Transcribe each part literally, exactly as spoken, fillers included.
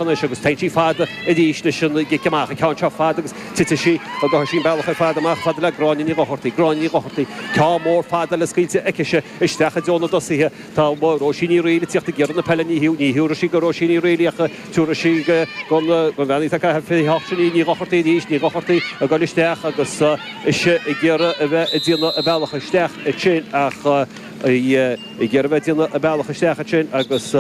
anois agus téann sí fada arís leis an gcic amach, an ceann seo fada agus titfidh sí go gcaithfidh sí an bealach ar fad amach fada le Gráinne Ní Dhochartaigh, Gráinne Ní Dhochartaigh, ceann mór fada le scaoilte aicise isteach i dtreo na dtosaithe. Tá Róisín Ní Fhrighil ag tíocht ag iarraidh na peile, ní ní thiúrfaidh sí go Róisín Ní Fhrighil í ach tiúrfaidh sí gon gon bhean atá ag caitheamh fiche hocht sin í Ní Dhochartaigh arís, Ní Dhochartaigh ag dul isteach agus ise ag iarraidh a bheith ag déanamh a bealach isteach ansin ach í ag iarraidh a bheith ag déanamh a bealach isteach ansin agus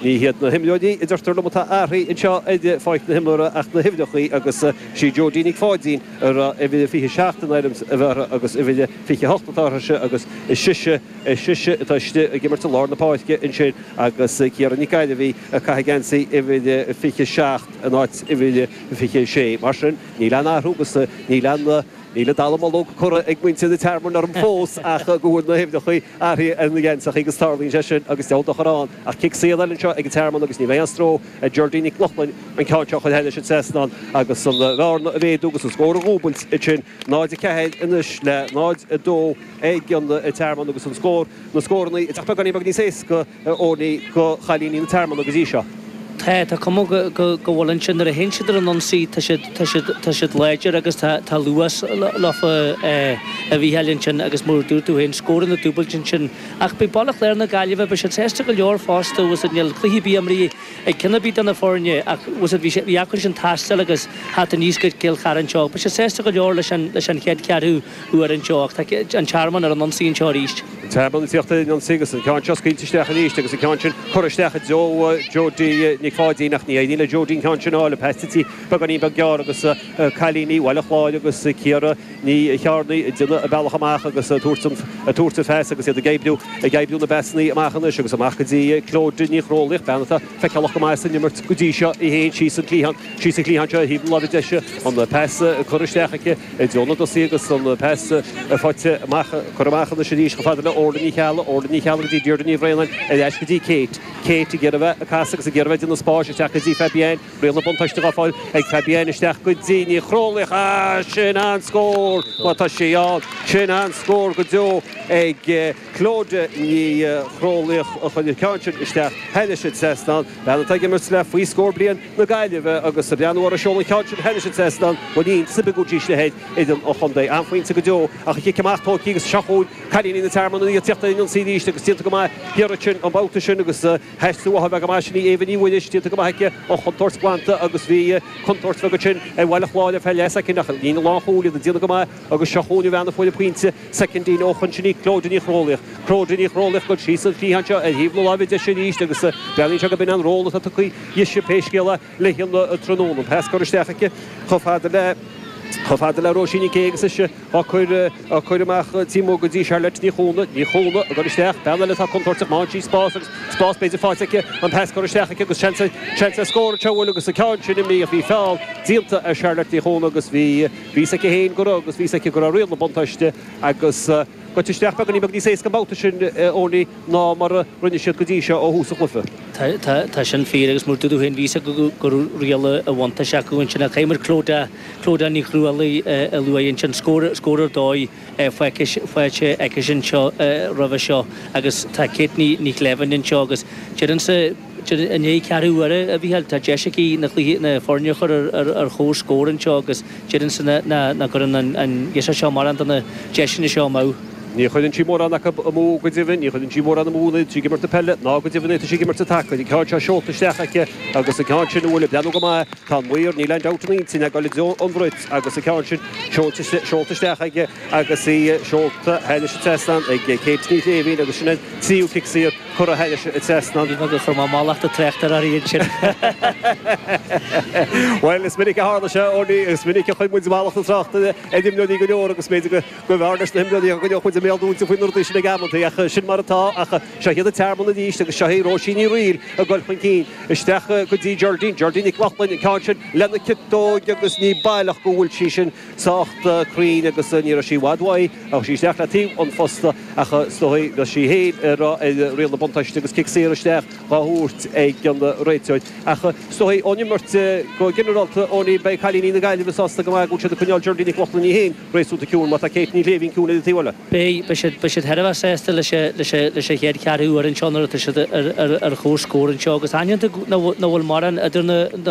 ní hiad na himreoirí a deirtear liom atá athraithe anseo ar pháirc na himeartha ach na huimhreacha agus sí Jodie Nic Pháidín a raibh uimhir a fiche seacht in ainm a bheith uirthi agus uimhir a fiche hocht atá uirthise agus is sise is sise atá istigh ag imirt i lár na páirce ansin agus Ciara Nic Gairbhí ag caitheamh geansaí uimhir a fiche seacht in áit uimhir a fiche sé. Mar sin níl aon athrú agus níl aon Níl an dallamullóg curtha ag muintir an Tearmainn orm fós ach go bhfuil na huimhreacha athraithe ar na geansaithe agus tarlaíonn sé sin agus deabhal dochar ann ach cic saor eile anseo ag an Tearmann agus ní bheidh aon stró ar Geraldine Nic Lochlainn an ceann seo a chur thairis an trasnán agus an bhearna a mhéadú agus an scór a dhúbailt ansin náid a ceathair anois le náid a dó ag an Tearmann agus an scór na scóranna ag teacht beagáinín beag níos éasca a Owenie do chailíní na Tearmanna go dtí seo. Tá, tá cuma go, go, go bhfuil ansin nuair a théann siad ar an ionsaí tá siad, tá siad, tá siad láidir agus tá, tá luas leofa a Mhícheáil ansin agus mar a dúirt tú féin, scóranna dúbailte ansin. Ach beidh Baile Chláir na Gaillimhe, beidh siad sásta go leor fosta, bhfuil 's a'd, níl cluiche ar bith imrithe ag ceann ar bith de na foirne ach bhfuil 's a'd, bhí sé, bhí acu sin taisteal agus theacht aníos go Cill Chartha anseo. Beidh siad sásta go leor leis an, leis an chéad cheathrú uair anseo ach tá an Tearmann ar an ionsaí anseo arís. An Tearmann ag tíocht ar an ionsaí agus an ceann seo scaoilte isteach arís agus an ceann sin curtha isteach i dtreo Jodie Nic Pháidín ach ní éiríonn le Jodie an ceann sin a fháil. An pas tite beagáinín beag gearr agus cailíní Bhaile Chláir agus Ciara Ní Chearnaigh ag déanamh a bealach amach agus ag tabhairt an phas agus iad ag oibriú ag oibriú na bpasanna amach anois agus amach go dtí Clodagh Ní Chrólaíoch, bean atá feiceálach go maith san imirt go dtí seo í féin síos an cliathán síos an cliathán seo ar thaobh na láimhe deise an pas curtha isteach aici i dtreo na dtosaithe agus an pas faighte amach, curtha amach anois arís chomh fada le Orla Ní Cheallaigh, Orla Ní Cheallaigh go dtí Deirdre Ní Bhraonáin, ar ais go dtí Kate, Kate ag iarraidh a bheith ag casadh agus ag iarraidh a bheith ag déanamh spáis isteach go dtí Fabienne, riail na buntáiste dhá fáil ag Fabienne isteach go dtí Ní Chrólaíoch, ah sin an-scór má tá sí ann, sin an-scór go deo ag Clodagh Ní Chrólaíoch a chuir an ceann sin isteach thairis an trasnán, bean atá ag imirt le faoi scór bliain. na Gaillimhe agus ag breathnú ar a seoladh an ceann sin thairis an trasnán, muinín oibleagáidí le haghaidh fhoireann an chontae. An-phointe go deo ach an cic amach tógtha agus seo chugainn cailíní na Tearmann ag tíocht ar an ionsaí arís agus déanta go maith thiar ansin an babhta sin agus aistriú uathu a bheith go maith sin í Éabha Ní Mhuiris déanta go maith aici an chontúirt glanta agus bhí contúirt bheag ansin ar Bhaile Chláir ar feadh leathshoicind ach líne lánchúil iad ag déanamh go maith agus seo chugainn an bhean a fuair an pointe soicindín ó shoin sin í Clodagh Ní Chrólaíoch. Clodagh Ní Chrólaíoch ag dul síos an cliathán seo ar thaobh na láimhe deise arís agus breathnaíonn sé go b'in an ról atá tugtha dise pé scéal é le híona tráthnóna. An pas curtha isteach aici chomh fada le chomh fada le Róisín Nic Aoidh agus ise á cur á cur amach taobh amuigh go dtí Charlotte Ní Chuana. Ní Chuana ag dul isteach, bean eile atá contúirteach, má fhaigheann sí spás agus spás b'fhéidir faighte aici, an pas curtha isteach aici agus seans seans ar scór anseo bhfuil agus an ceann sin imithe ach bhí feall déanta ar Charlotte Ní Chuana agus bhí bhí 's aici féin go raibh agus bhí 's aici go raibh riail na buntáiste agus goite isteach beagáinín beag níos éasca an babhta sin Owenie ná mar a rinne siad go dtí seo ó thús an chluiche. Tá, tá sin fíor agus mar a dúirt tú féin bhí 's acu go raibh riail an bhuntáiste acu ansin ach caithfidh muid Clodagh, Clodagh Ní Chrualaoi a lua ansin, scór, scór ar dóigh faighte aici anseo roimhe seo agus tá Kate Ní, Ní Shléibhín anseo agus deirimse, I ndiaidh ceathrú uaire, a Mhícheáil, tá deis aici na cluichí, na foirne a chur ar chomhscór anseo agus deirimse nach gcuireann an ghirseach seo mórán de na deiseanna seo amú. Ní chuireann sí mórán acu amú go deimhin, ní chuireann sí mórán amú nuair atá sí ag imirt na peile ná go deimhin nuair atá sí ag imirt an tsacair. An ceann seo seolta isteach aici agus an ceann sin a bhfuil ag breathnú go maith, tá an maor, níl aon dabht ina intinn, ag dul i dtreo an bhrait agus an ceann sin seolta isteach aige agus í seolta thairis an trasnán ag Kate Ní Shléibhín agus sin an tríú cic saor curtha thairis an trasnán. Ní bheadh gur chuir mé mallacht an tráchtaire uirthi ansin. Bhuel, is minic a tharla sé, Owenie, is minic a chuir muid mallacht an tráchtaire ar imreoirí go leor agus b'fhéidir go mb'fhearr leis na himreoirí go gcoinneodh muid a mbéal dúnta faoi na rudaí sin ag amantaí ach sin mar atá. Ach seo iad an Tearmann arís agus seo í Róisín Ní Fhrighil ag dul chun cinn isteach go dtí Geraldine, Geraldine Nic Lochlainn, an ceann sin lena ciotóig agus ní baileach go bhfuil sí sin sách cruinn agus ní raibh sí i bhfad uaidh. Ghabh sí isteach le taobh an phosta ach is dóigh bheadh sí féin ag rá ar riail na buntáiste agus cic saor isteach dhá thabhairt ag an réiteoir. Ach is dóigh ón imirt go ginearálta Owenie beidh cailíní na Gaillimhe sásta go maith go bhfuil siad ag coinneáil Geraldine Nic Lochlainn í féin réasúnta ciúin má tá Kate Ní Shléibhín ciúin ar an taobh eile. Beidh, beidh siad, beidh siad thar a bheith sásta leis an, leis an, leis an chéad cheathrú uair anseo nuair atá siad ar, ar, ar chomhscór anseo agus aithníonn tú nach bhfuil, nach bhfuil mórán idir na, na.